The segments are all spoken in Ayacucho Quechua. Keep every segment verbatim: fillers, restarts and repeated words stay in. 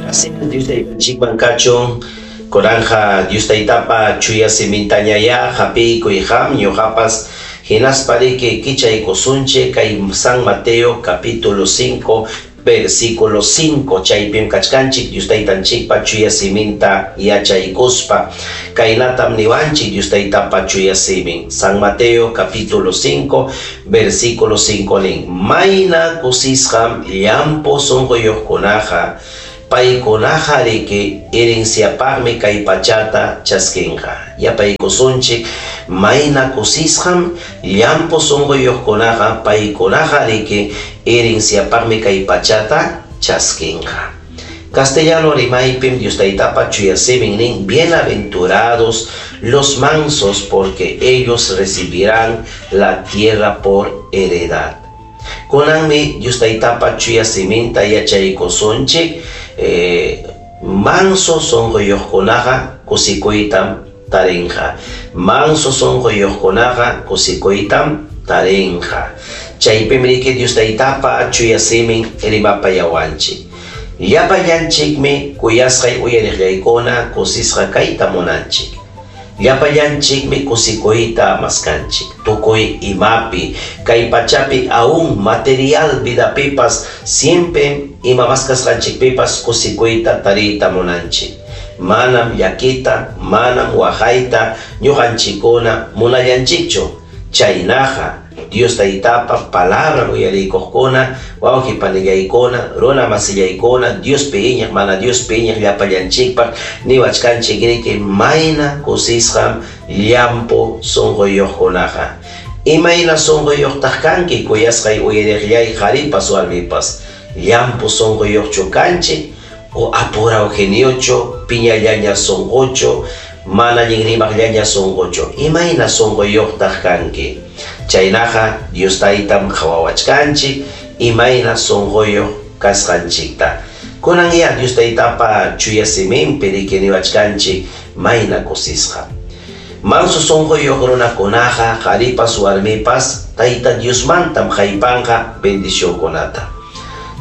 Dios taytanchikman kachun, kunanqa Dios taytapa chuya simintañayá hapiykuy qam ñuqapas hinaspa riki kichaykusunchik kay San Mateo capítulo cinco versículo cinco chaypim kachkanchik Dios taytanchikpa chuya siminta yachaykuspa kaynatam niwanchik Dios taytapa chuya simin. San Mateo capítulo cinco versículo cinco nin mayna kusisqam llampu sunquyuqkunaqa paykunaqa riki herenciapaqmi kay pachata chaskinqa. Yapaykusunchik mayna kusisqam llampu sunquyuqkunaqa paykunaqa riki herenciapaqmi kay pachata chaskinqa. Castellano rimaypim Dios taytapa chuya simin nin bienaventurados los mansos porque ellos recibirán la tierra por heredad. Kunanmi Dios taytapa chuya siminta yachaykusunchik eh, manso sunquyuqkunaqa kusikuytam tarinqa. Manso sunquyuqkunaqa kusikuytam tarinqa. Chaypim riki Dios taytapa chuya simin rimapayawanchik. Llapallanchikmi kuyasqay uyariqllaykuna kusisqa kayta munanchik. Llapallanchikmi kusikuyta maskanchik. Tukuy imapi, kay pachapi aún material vidapipas siempre ima maskasqanchikpipas kusikuyta tariyta munanchik. Manam llakita, manam waqayta ñuqanchikkuna munallanchikchu. Chaynaqa Dios taytapa palabra uyarikuqkuna, wawqi panillaykuna, runa masillaykuna, Dios piñaq, mana Dios piñaq llapallanchikpaq niwachkanchik riki mayna kusisqam llampu sunquyuqkunaqa. Imayna sunquyuqtaq kanki kuyasqay uyariqllay qharipas warmipas? Llampu sunquyuqchu kanchik o apuraw geniochu, piñallaña sunquchu, mana allin rimaqllaña sunquchu? Imayna sunquyuqtaq kanki? Chaynaqa Dios taytam qhawawachkanchik imayna sunquyuq kasqanchikta. Kunan ya Dios taytapa chuya siminpi riki niwachkanchik mayna kusisqa. Manso sunquyuq runakunaqa qharipas warmipas Tayta Diosmantam haypanqa bendicionkunata.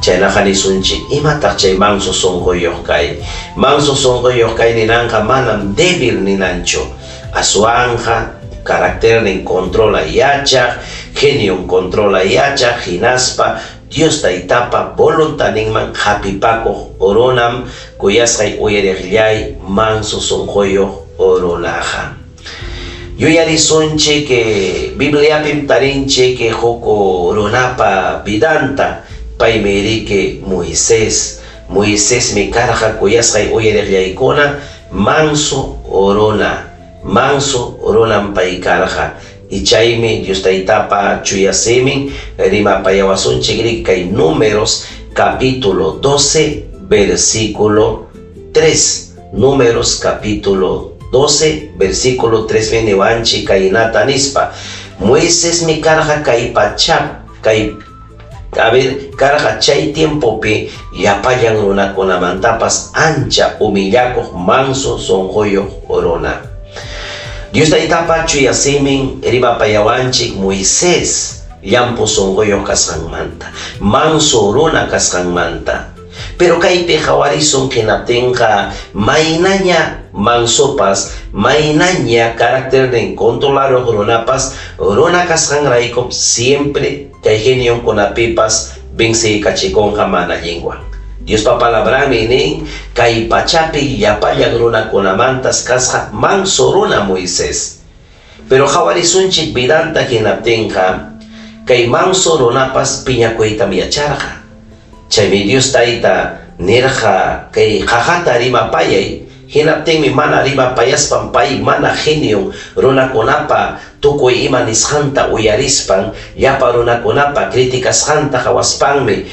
Chaynaqa nisunchik imataq chay manso sunquyuq kay? Manso sunquyuq kay ninanqa manam débil ninanchu. Aswanqa carácter controla yachaq, genio controla yachaq, hinaspa Dios taytapa voluntaninman hapipakuq runam kuyasqay uyariqllay manso sunquyuq runaqa. Yuyarisunchik Bibliapim tarinchik huk runapa vidanta, paymi riki Moisés. Moisésmi karqa kuyasqay uyariqllaykuna manso runa. Manso runam pay karqa. Y chaymi Dios taytapa chuya simin rimapayawasunchik riki kay Números capítulo doce versículo tres. Números capítulo doce versículo tres niwanchik kaynata nispa. Moisésmi karqa kay pachap kay a ver, karqa chay tiempopi llapallan runakunamantapas ancha humillakuq manso sunquyuq runa. Dios taytapa chuya simin rimapayawanchik Moisés llampu sunquyuq kasqanmanta, manso runa kasqanmanta. Pero kaypi qhawarisun hinaptinqa maynaña mansopas, maynaña carácter controlaruq runapas, runa kasqanraykum siempre kay genionkunapipas venceykachikunqa mana allinwan. Diospa palabranmi nin kay pachapi llapallan runakunamantas kasqa manso runa Moisés. Pero qhawarisunchik vidanta hinaptinqa kay manso runapas piñakuytam yacharqa. Chaymi Dios tayta nirqa kay qaqata rimapayay. Hinaptinmi mana rimapayaspan pay mana genio runakunapa tukuy ima nisqanta uyarispan llapa runakunapa criticasqanta qhawaspanmi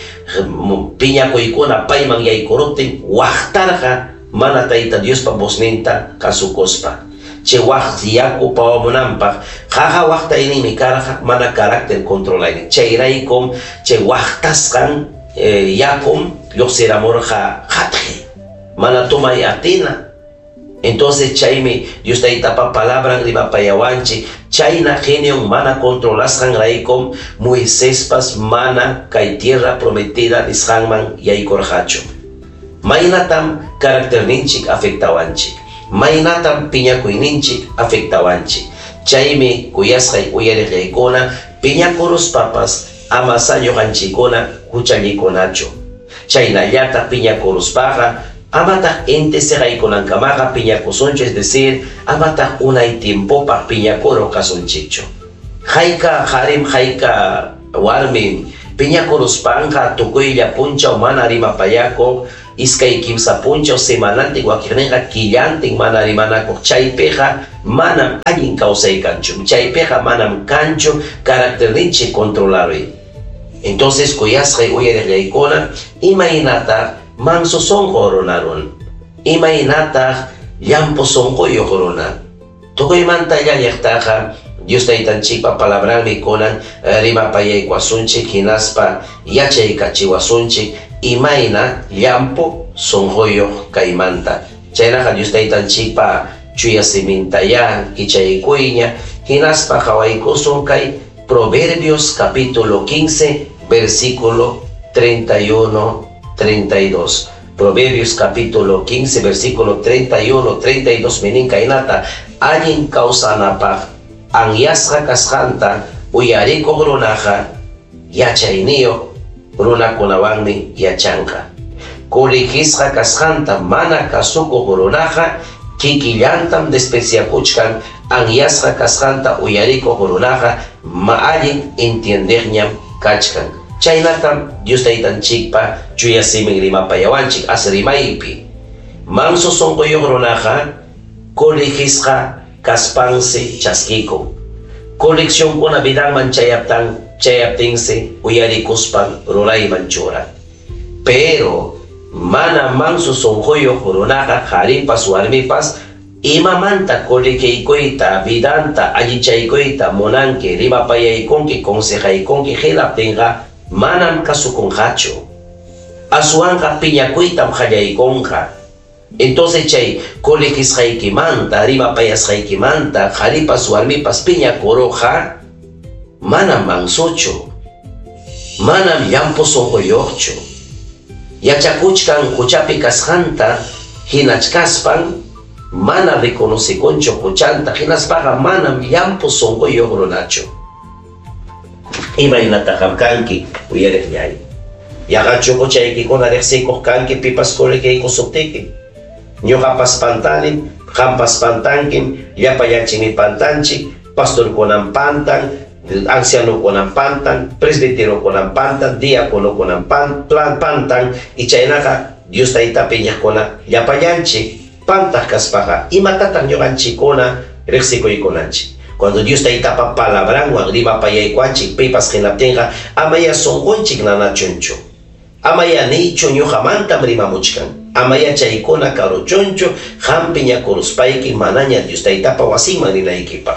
piñakuykuna payman yaykuruptin waqtarqa mana Tayta Diospa vozninta kasukuspa. Chay waq yaku pawamunanpaq qaqa waqtayninmi karqa mana carácter controlaynin. Chayraykum chay waqtasqan eh, yakum lluqsiramurqa qatqi mana tumay atina. Entonces chaymi Dios taytapa palabran rimapayawanchik chayna genion mana controlasqan raykum Moiséspas mana kay tierra prometida nisqanman yaykurqachu. Maynatam carácterninchik afectawanchik. Maynatam piñakuyninchik afectawanchik. Chaymi kuyasqay uyariqllaykuna piñakuruspapas ama ñuqanchikkuna huchallikunachu. Chaynallataq piñakuruspaqa amataq inti siqaykunankamaqa piñakusunchu, es decir, amataq unay tiempopaq piñakuruq kasunchikchu. Hayka qarim hayka warmim piñakuruspanqa tukuylla punchaw mana rimapayakuq, iskay kimsa punchaw semanantin wakiqninqa killantin mana rimanakuq. Chaypiqa manam allin kawsay kanchu. Chaypiqa manam kanchu carácterninchik controlaruy. Entonces kuyasqay uyariqllaykuna, imaynataq manso sunqu runa runa, imaynataq llampu sunquyuq runa. Tukuymanta llalliqtaqa Dios Taytanchikpa palabranmi kunan rimapayaykuwasunchik hinaspa yachaykachiwasunchik imayna llampu sunquyuq kaymanta. Chaynaqa Dios Taytanchikpa chuya simintayá kichaykuyña hinaspa qhawaykusun kay Proverbios capítulo quince, versículo treinta y uno, treinta y dos. Proverbios capítulo quince, versículo treinta y uno, treinta y dos, minin kaynata, allin kawsanapaq anyasqa kasqanta uyarikuq runaqa yachayniyuq runakunawanmi yachanqa. Corrigisqa kasqanta mana kasukuq runaqa kikillantam despreciakuchkan anyasqa kasqanta uyarikuq runaqa ma allin entiendeqñam kachkan. Chaynatam Dios Taytanchikpa chuya simin rimapayawanchik as rimaypi. Manso sunquyuq runaqa corrigisqa kaspansi chaskikun. Correccionkuna vidanman chayaptan, chayaptinsi uyarikuspan rurayman churan. Pero mana manso sunquyuq runaqa qharipas warmipas imamanta corrigiykuyta vidanta allichaykuyta munanki rimapayaykunki consejaykunki hinaptinqa manam kasukunqachu. Aswanqa piñakuytam qallaykunqa. Entonces chay corrigisqaykimanta rimapayasqaykimanta qharipas warmipas piñakuruqqa manam mansuchu, manam llampu sunquyuqchu. Yachakuchkan huchapi kasqanta hinachkaspan mana reconocikunchu huchanta hinaspaqa manam llampu sunquyuq runachu. Imaynataq kanki uyariqllay. Yaqachu huchaykikuna riqsikuq kanki pipas corrigiykusuptiki. Ñuqapas pantanim, qampas pantankim, llapallanchikmi pantanchik, pastorkunam pantan, ancianokunam pantan, presbiterokunam pantan, diáconokunam pan, plan pantan, y chaynaqa Dios Tayta piñaqkuna llapallanchik pantaq kaspaqa imatataq ñuqanchikkuna riqsikuykunanchik. Cuando Dios Taytapa palabranwan rimapayaykuanchik pipas hinaptinqa amaya sunqunchik nanachunchu. Amaya niychu ñuqamantam rimamuchkan. Amaya chaykuna karuchunchu qam piñakuruspayki manaña Dios Taytapa wasinman rinaykipaq.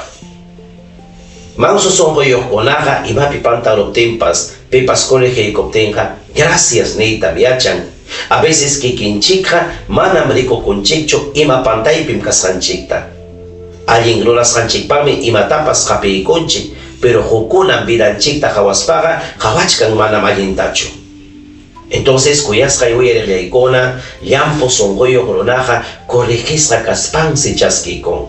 Manso sunquyuqkunaqa imapi pantaruptinpas pipas corrigiykuptinqa gracias niytam yachan. A veces kikinchikqa manam rikukunchikchu ima pantaypim kasqanchikta. Allin rurasqanchikpaqmi imatapas qapiykunchik, pero hukkunam vidanchikta qhawaspaqa qhawachkan manam allintachu. Entonces kuyasqay uyariqllaykuna llampu sunquyuq runaqa corrigisqa kaspansi chaskikun.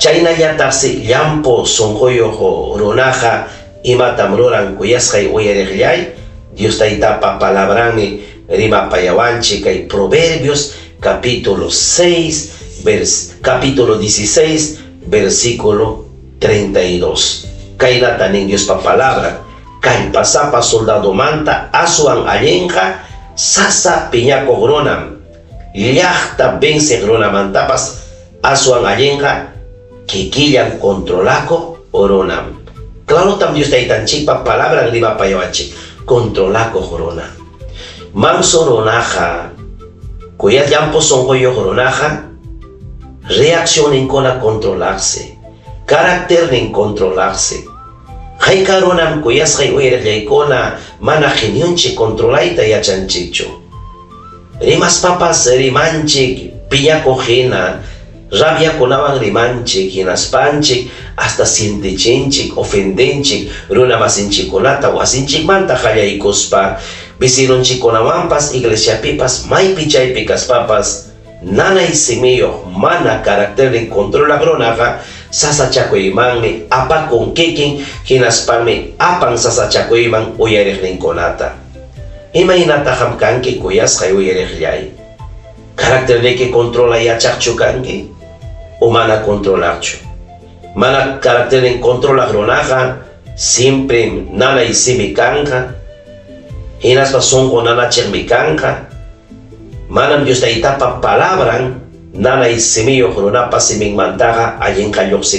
Chaynallataqsi llampu sunquyuq runaqa imatam ruran kuyasqay uyariqllay, Dios Taytapa palabranmi rimapayawanchik kay Proverbios capítulo seis, vers, capítulo dieciséis, versículo treinta y dos. Kaynata nin Diospa palabra, kallpasapa soldadomanta aswan allinqa sasa piñakuq runam, llaqta venceq runamantapas aswan allinqa kikillan controlakuq runam. Claro tam Dios Taytanchikpa palabran rimapayawanchik, controlakuq runa. Manso runaqa, kuyas llampu sunquyuq runaqa, reaccioninkuna controlarse, carácternin controlarse. Hayka runam kuyasqay uyariqllaykuna mana genionchik controlayta yachanchikchu. Rimaspapas rimanchik piñakuq hina, rabiakunawan rimanchik hinaspanchik hasta sientichinchik, ofendenchik runa masinchikkunata wasinchikmanta qallaykuspa Vecinonchikkunawanpas iglesiapipas maypi chaypi kaspapas nanay simiyuq mana carácternin controlaq runaqa sasachakuymanmi apakun kikin hinaspanmi apan sasachakuyman uyariqninkunata. Imaynataq kanki kuyasqay uyariqllay? Caracterniki controla yachaqchu kanki o mana controlaqchu? Mana carácternin controlaq runaqa siempre nanay simi kanqa, hinaspa sunqu nanachiqmi kanqa. Manam Dios Taytapa palabran nanay simiyuq runapa siminmantaqa allinqa lluqsi.